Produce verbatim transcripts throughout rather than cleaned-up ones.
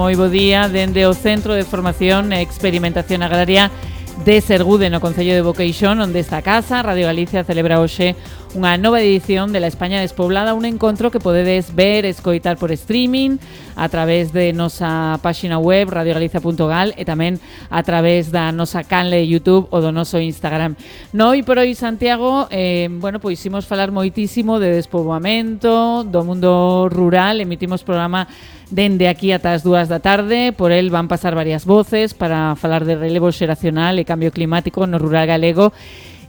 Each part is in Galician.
Moi bo día dende o Centro de Formación e Experimentación Agraria de Sergude, no Concello de Boqueixón, onde esta casa, Radio Galicia, celebra hoxe unha nova edición de La España Despoblada, un encontro que podedes ver, escoitar por streaming a través de nosa páxina web radio galicia punto gal e tamén a través da nosa canle de YouTube ou do noso Instagram. No Hoy por Hoy Santiago, eh, bueno, pois imos falar moitísimo de despoboamento, do mundo rural, emitimos programa dende aquí ata as dúas da tarde, por el van pasar varias voces para falar de relevo xeracional e cambio climático no rural galego.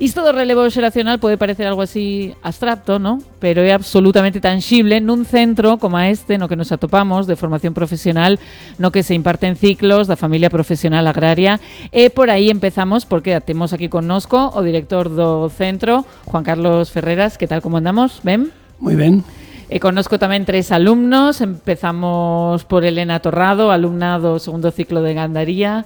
Isto do relevo xeracional pode parecer algo así abstracto, ¿no? Pero é absolutamente tangible nun centro como este no que nos atopamos de formación profesional, no que se imparten ciclos da familia profesional agraria. E por aí empezamos, porque temos aquí connosco o director do centro, Juan Carlos Ferreras. Que tal, como andamos? Ben? Moi ben. E connosco tamén tres alumnos. Empezamos por Elena Torrado, alumna do segundo ciclo de gandaría.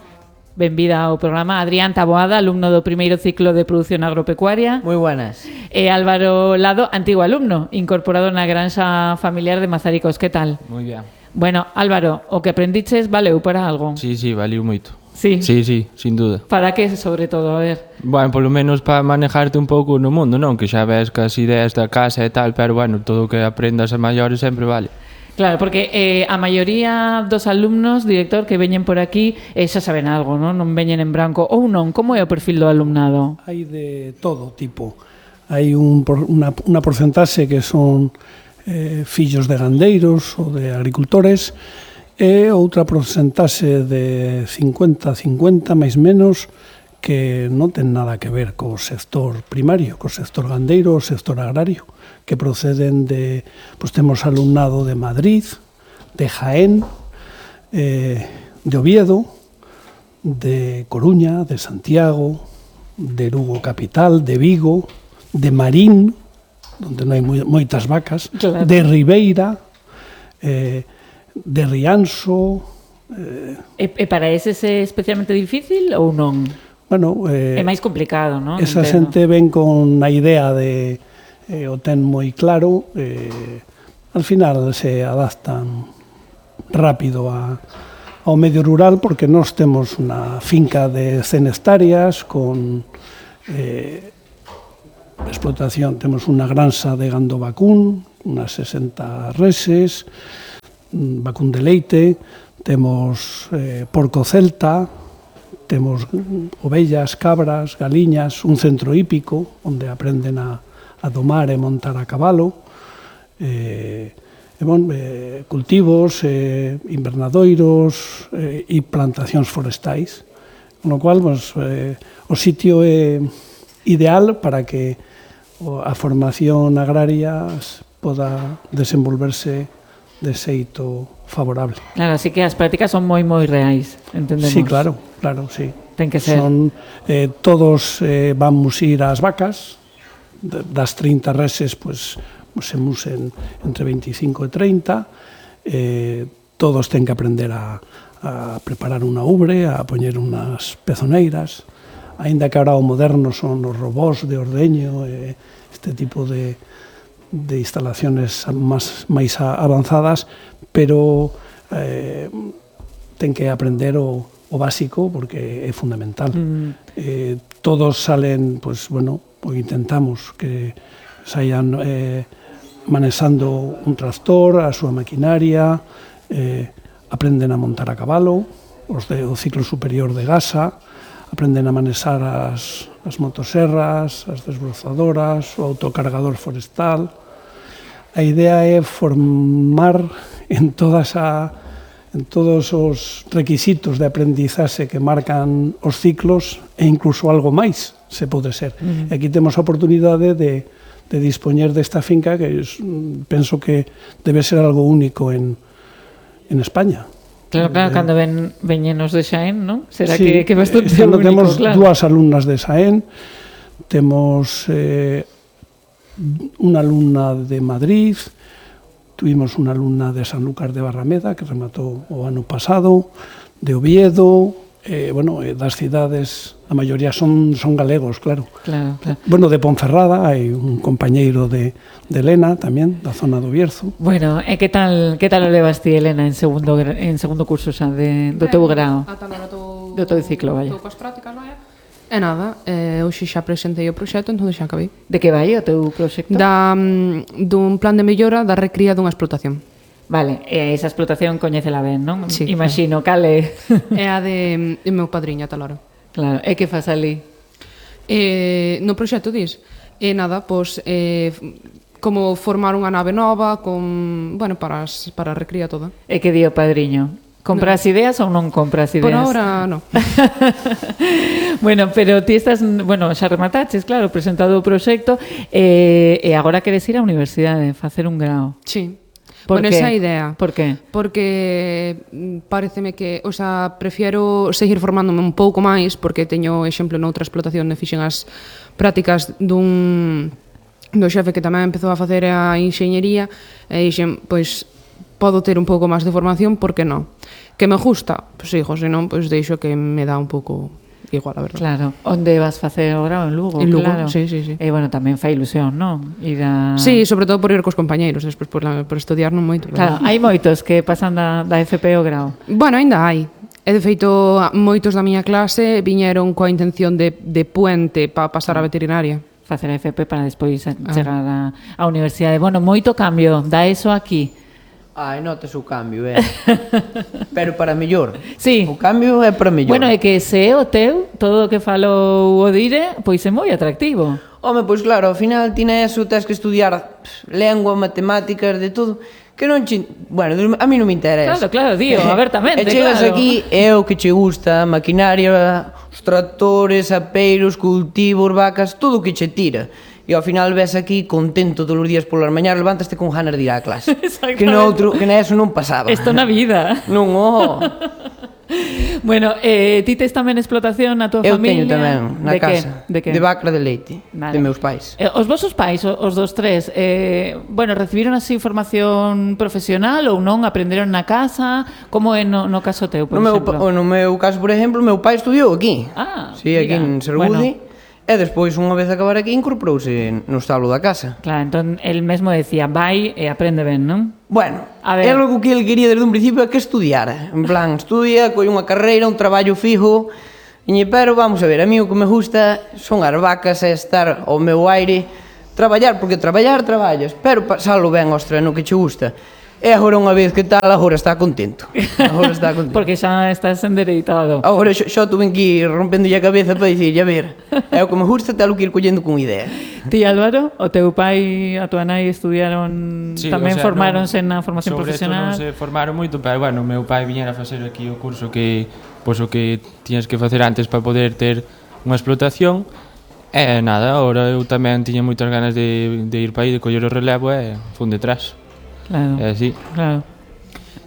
Benvida ao programa. Adrián Taboada, alumno do primeiro ciclo de produción agropecuaria. Moi buenas. E Álvaro Lado, antigo alumno, incorporado na granxa familiar de Mazaricos. Que tal? Moi ben. Bueno, Álvaro, o que aprendiches valeu para algo? Sí, sí, valeu moito. Sí? Sí, sí, sin duda. Para que, sobre todo? A ver. Bueno, polo menos para manejarte un pouco no mundo, non? Que xa ves que as ideas da casa e tal, pero bueno, todo o que aprendas a maiores sempre vale. Claro, porque eh, a maioría dos alumnos, director, que veñen por aquí, eh, xa saben algo, non? Non veñen en branco. Ou non? Como é o perfil do alumnado? Hai de todo tipo. Hai un, unha, unha porcentaxe que son eh, fillos de gandeiros ou de agricultores e outra porcentaxe de cincuenta a cincuenta, máis menos, que non ten nada que ver co sector primario, co sector gandeiro, o sector agrario, que proceden de, pues temos alumnado de Madrid, de Jaén, eh, de Oviedo, de Coruña, de Santiago, de Lugo capital, de Vigo, de Marín, onde non hai moitas vacas, claro, de Ribeira, eh, de Rianxo. Eh, e, e para eses é especialmente difícil ou non? Bueno, eh, é máis complicado, non? Esa xente ven con a idea de eh, o ten moi claro, eh, al final se adaptan rápido a, ao medio rural, porque nós temos unha finca de cen hectáreas con eh, explotación, temos unha granxa de gando vacún, unas sesenta reses, vacún de leite, temos eh, porco celta, temos ovellas, cabras, galiñas, un centro hípico onde aprenden a, a domar e montar a cabalo, eh, e bon, eh, cultivos, eh, invernadoiros eh, e plantacións forestais, con lo cual pues, eh, o sitio é ideal para que a formación agraria poda desenvolverse de xeito favorable. Claro, así que as prácticas son moi moi reais, entendemos. Sí, claro, claro, sí. Ten que ser. Son, eh, todos eh, vamos ir ás vacas, das trinta reses, pues, se musen entre veinticinco e treinta, eh, todos ten que aprender a, a preparar unha ubre, a poñer unhas pezoneiras, aínda que ahora o moderno son os robós de ordeño, eh, este tipo de de instalaciones máis, máis avanzadas, pero eh, ten que aprender o, o básico porque é fundamental. Mm. Eh, todos salen, pues bueno, pues intentamos que saian eh, manexando un tractor, a súa maquinaria, eh, aprenden a montar a cabalo, os do ciclo superior de Gasa, aprenden a manexar as, as motoserras, as desbrozadoras, o autocargador forestal. A idea é formar en todas a, en todos os requisitos de aprendizaxe que marcan os ciclos e incluso algo máis se pode ser. Uh-huh. Aquí temos a oportunidade de, de dispoñer desta finca que es, penso que debe ser algo único en, en España. Claro, claro, eh, cando ven veñenos de Xaén, non? Será sí, que, que bastante eh, único, temos claro. Dúas alumnas de Xaén, temos eh, unha alumna de Madrid, tuvimos unha alumna de Sanlúcar de Barrameda que rematou o ano pasado, de Oviedo, eh, bueno, eh, das cidades A maioría son, son galegos, claro. Claro, claro. Bueno, de Ponferrada hai un compañeiro de, de Elena tamén, da zona do Bierzo. Bueno, e que tal que tal o levas ti, Elena, en segundo gra- en segundo curso xa de, do teu grao? Ata agora estou... Do teu ciclo, vaya. Estou coas prácticas, vaya. E nada, eh, hoxe xa presentei o proxecto, entón xa acabei. De que vai o teu proxecto? Da, mm, dun plan de mellora da recría dunha explotación. Vale, e esa explotación coñécela ben, non? Sí. Imagino, cale. É a de, de meu padriño, tal hora. Claro, e que faz ali? Eh, no proxecto, dis? E nada, pois, eh, como formar unha nave nova con, bueno, para, as, para a recría toda. E que di o padriño? Compras no. ideas ou non compras ideas? Por ahora, non. Bueno, pero ti estás, bueno, xa remataches, claro, presentado o proxecto, e, e agora queres ir á universidade, facer un grao. Sí. Por Bueno, qué? esa idea. Por que? Porque mm, pareceme que, o sea, prefiero seguir formándome un pouco máis, porque teño exemplo noutra explotación e fixen as prácticas dun do xefe que tamén empezou a facer a enxeñería e dixen, pois, podo ter un pouco máis de formación, por que non? Que me gusta? Pois sigo, senón, pois deixo que me dá un pouco igual, a verdade. Claro, onde vas facer o grao? En Lugo, En Lugo, claro. sí, sí, sí. E, bueno, tamén fai ilusión, non? Ir a... Sí, sobre todo por ir cos compañeiros, despois por, la, por estudiar non moito. Claro, hai moitos que pasan da, da F P o grao. Bueno, aínda hai. E, de feito, moitos da miña clase viñeron coa intención de, de puente para pasar a veterinaria. Facer a F P para despois ah. chegar á, á universidade. Bueno, moito cambio, da eso aquí. Ai, notas o cambio, é. Pero para mellor. Sí. O cambio é para mellor. Bueno, é que se é o teu, todo o que falou o Dire, pois é moi atractivo. Home, pois claro, ao final ti eso, tens que estudiar pff, lengua, matemáticas, de todo, que non che... Bueno, a mí non me interesa. Claro, claro, dío, abertamente, E chegas claro. aquí, é o que che gusta, maquinaria, os tractores, apeiros, cultivos, vacas, todo o que che tira. E ao final ves aquí contento todos os días polas mañás, levantaste con ganas de ir á clase. Que no outro, que na eso non pasaba. Isto na vida. Non, oh. Bueno, eh, ti tes tamén explotación na tua Eu familia? teño tamén, na de casa. Que? De que? De vaca de leite, Vale. de meus pais. Eh, os vosos pais, o- os dos tres, eh, bueno, recibiron así formación profesional ou non? Aprenderon na casa? Como é no, no caso teu, por No meu, exemplo? pa- no meu caso, por exemplo, meu pai estudiou aquí. Ah, Sí, aquí mira, en Sergude. E despois, unha vez acabar aquí, incorporouse no establo da casa. Claro, entón, el mesmo decía, vai e aprende ben, non? Bueno, A ver. é algo que ele quería desde un principio é que estudiara. En plan, estudia, colle unha carreira, un traballo fijo. E, pero vamos a ver, a mí o que me gusta son as vacas e estar ao meu aire, traballar, porque traballar traballas, pero pasalo ben, ostra, no que che gusta. E agora unha vez que tal, agora está contento. Agora está contento. Porque xa estás endereitado. Agora xa, xa tuve que ir rompendo a cabeza para dicir, a ver, é o que me gusta, telo que ir collendo con idea. Ti, Álvaro, o teu pai e a tua nai estudiaron, Sí, tamén o sea, formáronse non- na formación sobre profesional? Sobre non se formaron moito, pero bueno, o meu pai viñera a facer aquí o curso que pois o que tiñas que facer antes para poder ter unha explotación. E nada, agora eu tamén tiña moitas ganas de, de ir para aí, de coller o relevo e fun detrás. Claro, E así. claro.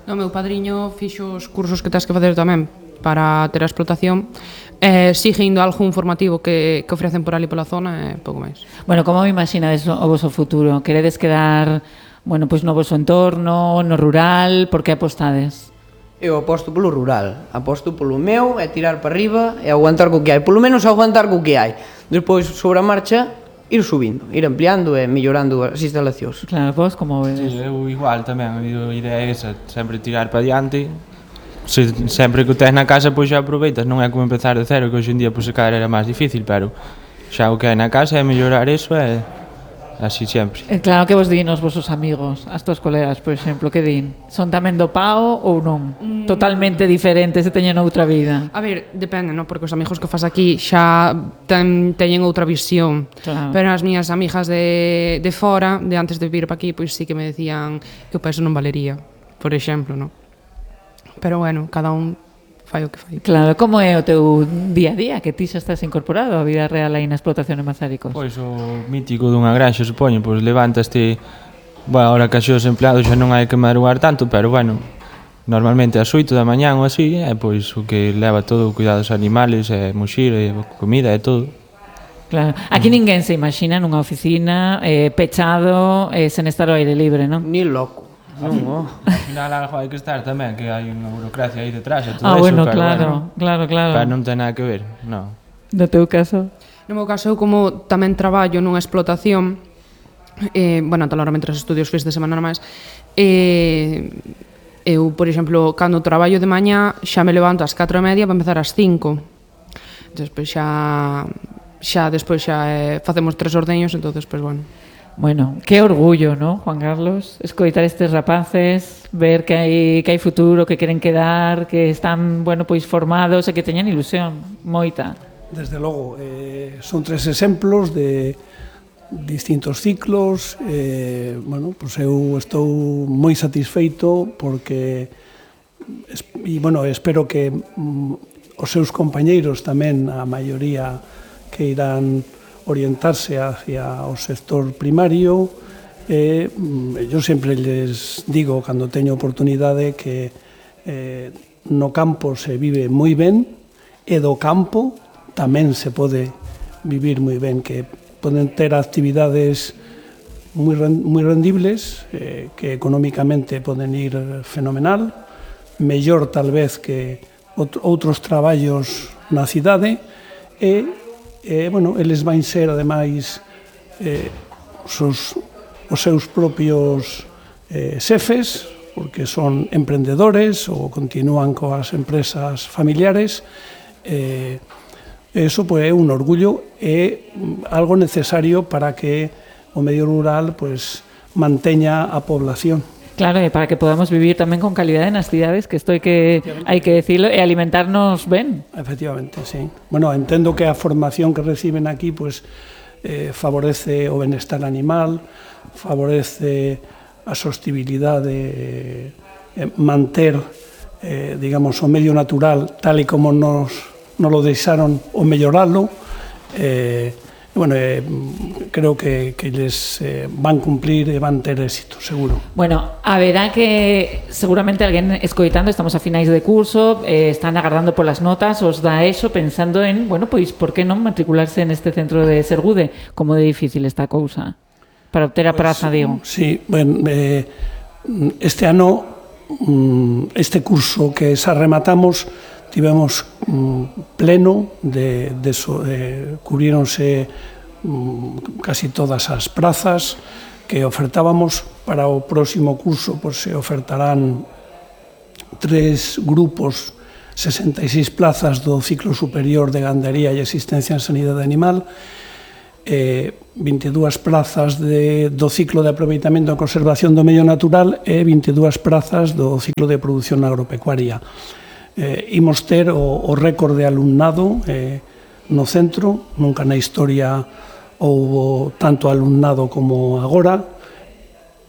O meu padriño fixo os cursos que tens que facer tamén para ter a explotación. Eh, sigue indo algún formativo que, que ofrecen por ali pola zona e pouco máis. Bueno, como me imaginades o voso futuro? Queredes quedar, bueno, pois no voso entorno, no rural, por que apostades? Eu aposto polo rural, aposto polo meu, é tirar para arriba e aguantar co que hai, polo menos aguantar co que hai. Despois, sobre a marcha, ir subindo, ir ampliando e mellorando as instalacións. Claro, vos como Sí, vedes? eu igual tamén, a idea é esa, sempre tirar para diante. Se, sempre que o tes na casa, pois xa aproveitas, non é como empezar de cero, que hoxe en día pois, se calhar era máis difícil, pero xa o que hai na casa é mellorar eso e así sempre. Eh, Claro que vos din os vosos amigos, as tuas colegas, por exemplo, que din? Son tamén do pao ou non? Mm. Totalmente diferentes e teñen outra vida. A ver, depende, non? Porque os amigos que fas aquí xa ten, teñen outra visión. Claro. Pero as miñas amigas de, de fora, de antes de vir para aquí, pois sí que me decían que o peso non valería, por exemplo, non? Pero bueno, cada un fai o que fai. Claro, como é o teu día a día, que ti xa estás incorporado á vida real aí na explotación de Mazáricos? Pois o mítico dunha granxa, supoño, pois levantaste, bueno, ahora que os empleados xa non hai que madrugar tanto, pero bueno, normalmente ás oito da mañán ou así, é pois o que leva todo o cuidado dos animales, e muxir, e comida e todo. Claro. Aquí ninguén se imagina nunha oficina eh, pechado, eh, sen estar ao aire libre, non? Ni loco. Non, oh. Al final algo hai que estar tamén, que hai unha burocracia aí detrás e todo Ah, eso, bueno, pero claro, bueno, claro, claro. pero non ten nada que ver, non. No teu caso? No meu caso, eu como tamén traballo nunha explotación, eh, bueno, normalmente os estudios fins de semana normais, eh, eu, por exemplo, cando traballo de mañá, xa me levanto ás catro e media para empezar ás cinco. Despois xa, xa despois xa eh, facemos tres ordeños, entonces, pois, bueno. Bueno, que orgullo, ¿no, Juan Carlos? Escoitar estes rapaces, ver que hai, que hai futuro, que queren quedar, que están, bueno, pois formados e que teñen ilusión, moita. Desde logo, eh, son tres exemplos de distintos ciclos, eh, bueno, pues eu estou moi satisfeito porque e, bueno, espero que mm, os seus compañeiros tamén, a maioría que irán orientarse hacia o sector primario. Eh, eu sempre les digo, cando teño oportunidade, que eh, no campo se vive moi ben e do campo tamén se pode vivir moi ben, que poden ter actividades moi, moi rendibles, eh, que económicamente poden ir fenomenal, mellor tal vez que outros traballos na cidade, e, e bueno, eles van ser, ademais, eh, os, os seus propios eh, xefes, porque son emprendedores ou continúan coas empresas familiares. eh, Eso pues, é un orgullo e algo necesario para que o medio rural pues, manteña a población. Claro, e para que podamos vivir tamén con calidade nas cidades, que isto hai que, hai que decirlo, e alimentarnos ben. Efectivamente, sí. Bueno, entendo que a formación que reciben aquí pues, eh, favorece o benestar animal, favorece a sostibilidade, eh, manter eh, digamos, o medio natural tal e como nos non lo deixaron o melloralo. Eh, bueno, eh, creo que, que les eh, van cumplir e van ter éxito, seguro. Bueno, a verá que seguramente alguén escoitando, estamos a finais de curso, eh, están agardando polas notas, os da eso pensando en, bueno, pois, por que non matricularse neste centro de Sergude? Como de difícil esta cousa para obter a praza, pues, digo. Sí, bueno, eh, este ano, este curso que xa rematamos, tivemos mm, pleno de, de, so, de cubríronse mm, casi todas as prazas que ofertábamos. Para o próximo curso pues, se ofertarán tres grupos, sesenta e seis plazas do ciclo superior de gandería e asistencia en sanidade animal, eh, vinte e dúas plazas de, do ciclo de aproveitamento e conservación do medio natural e vinte e dúas plazas do ciclo de produción agropecuaria. Eh, imos ter o, o récord de alumnado eh, no centro, nunca na historia houbo tanto alumnado como agora.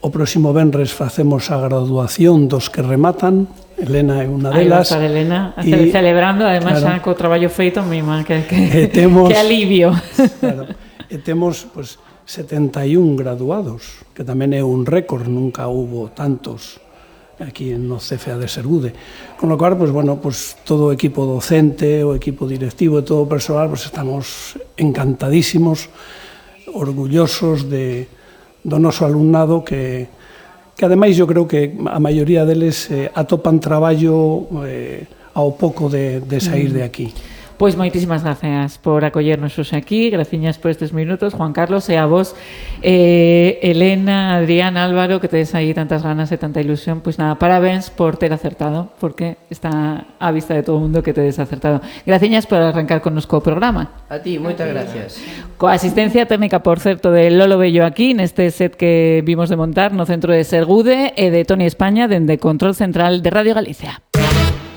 O próximo venres facemos a graduación dos que rematan, Elena é unha delas. Aí vai estar Elena, e, celebrando, además, claro, xa co traballo feito, mima, que, que, temos, que alivio. Claro, e temos pues, setenta e un graduados, que tamén é un récord, nunca houbo tantos aquí no C F A de Sergude. Con lo cual, pues, bueno, pues, todo o equipo docente, o equipo directivo e todo o persoal, pues, estamos encantadísimos, orgullosos de, do noso alumnado que, que ademais eu creo que a maioría deles eh, atopan traballo eh, ao pouco de, de sair de aquí. Pois moitísimas gracias por acollernos hoxe aquí, graciñas por estes minutos, Juan Carlos, e a vos, eh, Elena, Adrián, Álvaro, que tedes aí tantas ganas e tanta ilusión, pois nada, parabéns por ter acertado, porque está á vista de todo o mundo que tedes acertado. Graciñas por arrancar connosco o programa. A ti, moitas gracias. Coa asistencia técnica, por certo, de Lolo Bello aquí, neste set que vimos de montar no centro de Sergude, e de Toni España, dende Control Central de Radio Galicia.